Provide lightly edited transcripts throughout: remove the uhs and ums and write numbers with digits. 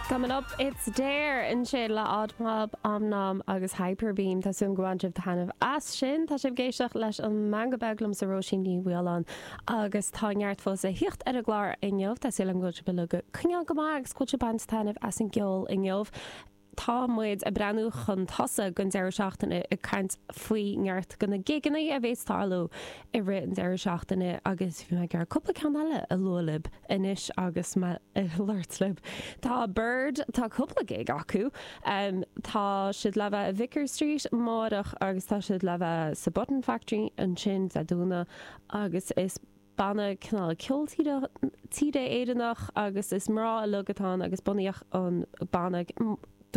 Coming up, it's Dare ansin le Odd Mob, Om Nom agus Hyperbeam. Tá súil agam gur bhain sibh taitneamh as sin. Tá sibh ag éisteacht leis an Meangadh Beag liomsa Róisín Ní Mhaoláin agus tá neart fós a thíocht ar an gclár inniu. Tá súil agam go bhfuil sibh uilig ag coinneáil go maith agus go bhfuil sibh ag baint taitneamh as an gceol inniu. Tá muid ag breathnú chun tosaigh don deireadh seachtaine ag caint faoi neart de na gigeanna a bhéas ag tarlú i rith an deireadh seachtaine agus bhí mé ag iarraidh cúpla ceann eile a lua libh anois agus mé ag labhairt libh. Tá Bird, tá cúpla gig acu. Tá siad le bheith i Vicar Street amárach agus tá siad le bheith sa Button Factory ansin Dé Domhnaigh agus is banna cineál ceol tíre Éireannach agus is mná uilig atá ann agus bunaíodh an banna,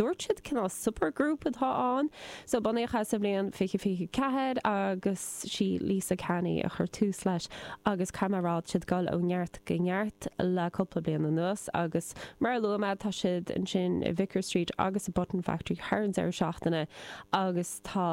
dúirt siad cineál supergroup atá ann. So bunaíodh é sa bhliain 2024 agus sí Lisa Canny a chuir tús leis agus caithfidh mé a rá tá siad ag dul ó neart go neart le cúpla bliain anuas agus mar a luaigh mé tá siad ansin i Vicar Street agus sa Button Factory thar an deireadh seachtaine agus tá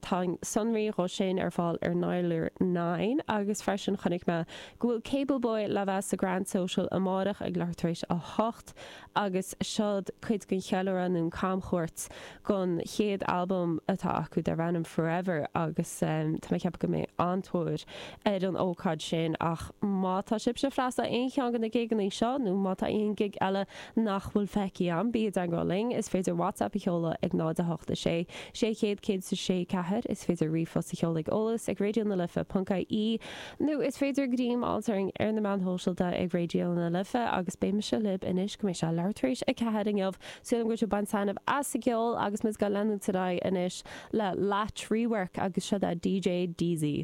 Tá sonraí dhó sin ar fáil ar Nialler Nine agus freisin chonaic mé go bhfuil Cable Boy le bheith sa Grand Social amárach ag leathuair tar éis 8 agus seod cuid den cheiliúradh nó an camchuairt don chéad albam atá acu darb ainm Forever agus tá mé ag ceapadh go mbeidh an-tóir ar an ócáid sin ach má tá sibhse freastal aon cheann de na gigeanna seo nó má tá aon gig eile nach bhfuil feicthe agam, bí i dteagmháil linn. Is féidir WhatsApp a sheoladh ag 0 8 6 600 106 4, is féidir ríomhphost a sheoladh ag eolas ag raidió na life ponc ie nó is féidir greim a fháilt orainn ar na meáin shóisialta ag Raidió na Life agus beidh mise libh anois go mbeidh sé leathuair tar éis 4 inniu. Súil agam go bhfuil sibh ag baint taitneamh as an gceol agus muid ag leanúint ar aghaidh anois le Latch Rework agus seo é DJ Deezy.